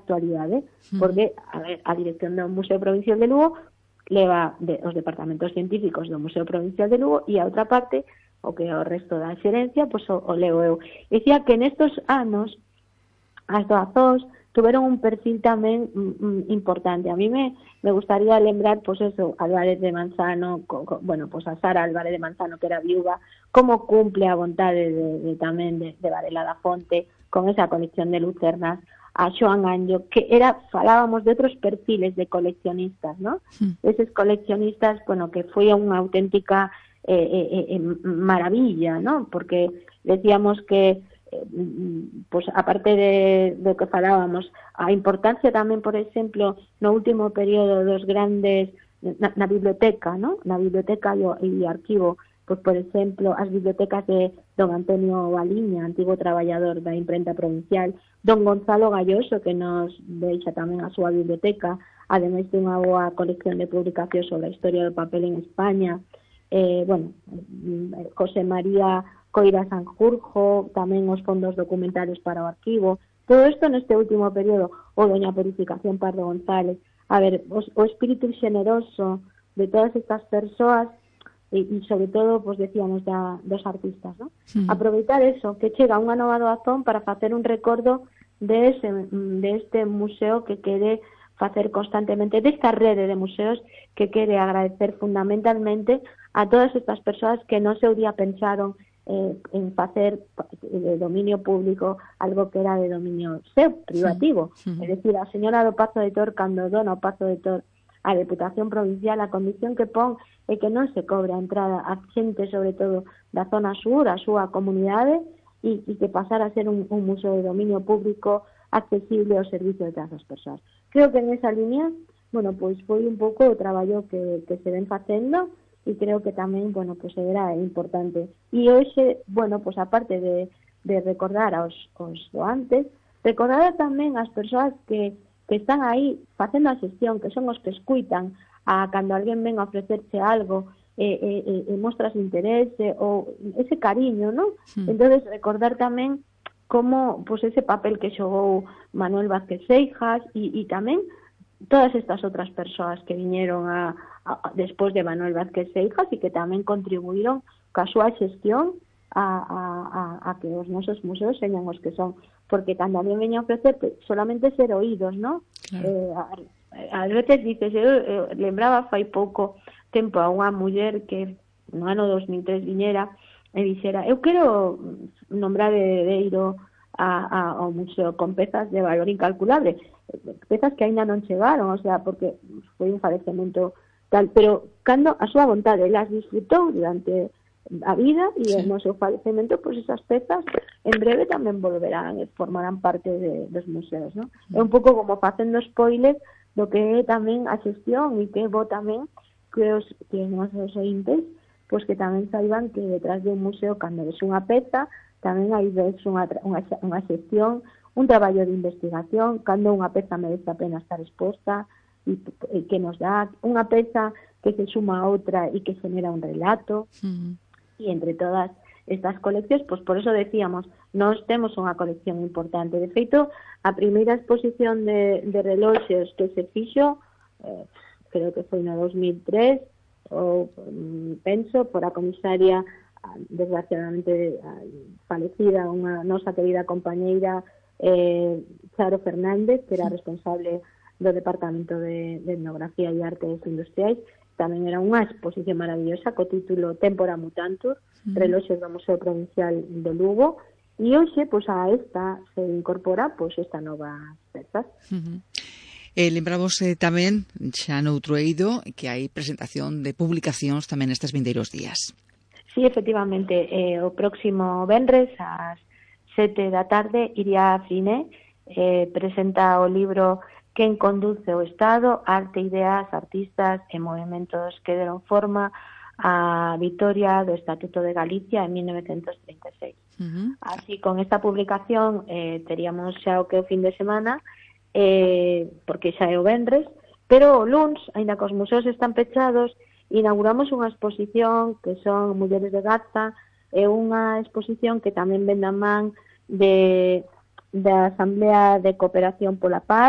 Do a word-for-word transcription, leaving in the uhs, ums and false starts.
actualidade, porque a, ver, a dirección do Museo Provincial de Lugo leva de, os departamentos científicos do Museo Provincial de Lugo e a outra parte, o que é o resto da xerencia, pois o, o leo eu. Dicía que nestos anos as doazóns tuveron un perfil tamén mm, importante. A mí me, me gustaría lembrar, pois eso, Álvarez de Manzano, co, co, bueno, pois a Sara Álvarez de Manzano, que era viúva, como cumple a vontade de, de tamén de, de Varela da Fonte, con esa colección de lucernas, a Xoán Anllo, que era, falábamos de outros perfiles de coleccionistas, ¿no? Sí. Eses coleccionistas, bueno, que foi unha auténtica eh, eh, eh, maravilla, ¿no? Porque decíamos que pois aparte de do que falábamos, a importancia tamén, por exemplo, no último período dos grandes na, na biblioteca, ¿no? Na biblioteca e o, e o arquivo, pois por exemplo, as bibliotecas de don Antonio Baliña, antigo traballador da imprenta provincial, don Gonzalo Galloso, que nos deixa tamén a súa biblioteca, ademais de unha boa colección de publicacións sobre a historia do papel en España, eh, bueno, José María Coira Sanjurjo, tamén os fondos documentales para o arquivo, todo isto neste último período, o doña Purificación Pardo González. A ver, o, o espírito xeneroso de todas estas persoas e, e sobre todo, pues decíamos, da, dos artistas, ¿no? Sí. Aproveitar eso, que chega unha nova doazón para facer un recordo de, ese, de este museo que quere facer constantemente, desta rede de museos que quere agradecer fundamentalmente a todas estas persoas que no seu día pensaron Eh, en facer de dominio público algo que era de dominio seu, privativo. Sí, sí. É dicir, a señora do Pazo de Tor, cando dona o Pazo de Tor a Deputación Provincial, a condición que pon é que non se cobre a entrada a xente, sobre todo da zona sur, a súa comunidade, e, e que pasara a ser un, un museo de dominio público accesible ao servicio de todas as persoas. Creo que en esa línea, bueno, pois foi un pouco o traballo que, que se ven facendo, e creo que tamén, bueno, pues era importante. E hoxe, bueno, pues aparte de, de recordar aos, aos doantes, recordar tamén as persoas que, que están aí facendo a xestión, que son os que escuitan a cando alguén ven a ofrecerse algo e, e, e, e mostras interese ou ese cariño, ¿no? Sí. Entonces recordar tamén como, pues ese papel que xogou Manuel Vázquez Seijas e, e tamén todas estas outras persoas que viñeron a, a, despois de Manuel Vázquez Seijas e que tamén contribuíron ca súa xestión a, a, a, a que os nosos museos señan os que son, porque cando alguén veña a ofrecer solamente ser oídos, ¿no? Claro. Eh, a, a veces dices, eu, eu lembraba fai pouco tempo a unha muller que no ano dos mil tres viñera e dixera, eu quero nombrar heredeiro a, a, ao museo con pezas de valor incalculable, pezas que aínda non chegaron, o sea, porque foi un falecemento tal, pero cando a súa vontade las disfrutou durante a vida e sí. No seu falecemento, pois pues esas pezas en breve tamén volverán e formarán parte de, dos museos, ¿no? Mm. É un pouco como facendo spoilers do que é tamén a xestión e que é bo tamén que os, que os nosos ointes pois pues que tamén saiban que detrás de un museo, cando ves unha peza, tamén hai ves unha, unha, unha xestión, un traballo de investigación, cando unha peza merece a pena estar exposta e, e que nos dá unha peza que se suma a outra e que genera un relato. Uh-huh. E entre todas estas coleccións, pois por eso decíamos, nós temos unha colección importante. De feito, a primeira exposición de, de reloxes que se fixo, eh, creo que foi no dos mil tres, ou penso, por a comisaria desgraciadamente falecida, unha nosa querida compañeira eh, Charo Fernández, que era responsable do Departamento de, de Etnografía e Artes Industriais. Tamén era unha exposición maravillosa co título Tempora Mutantur, uh-huh. Reloxes do Museo Provincial de Lugo, e hoxe, pois, a esta se incorpora, pois, esta nova pezas. Uh-huh. Eh, lembramos eh, tamén, xa noutro eido, que hai presentación de publicacións tamén nestes vindeiros días. Sí, efectivamente, eh, o próximo venres ás sete da tarde Iria Fine eh, presenta o libro Quen conduce o Estado, arte, ideas, artistas e movimentos que deron forma á vitoria do Estatuto de Galicia en mil novecentos trinta e seis. Uh-huh. Así, con esta publicación eh, teríamos xa o que o fin de semana, eh, porque xa é o venres, pero o luns, aínda que os museos están pechados, inauguramos unha exposición que son Mulleres de Garza, é unha exposición que tamén ven da man de da Asamblea de Cooperación pola Paz,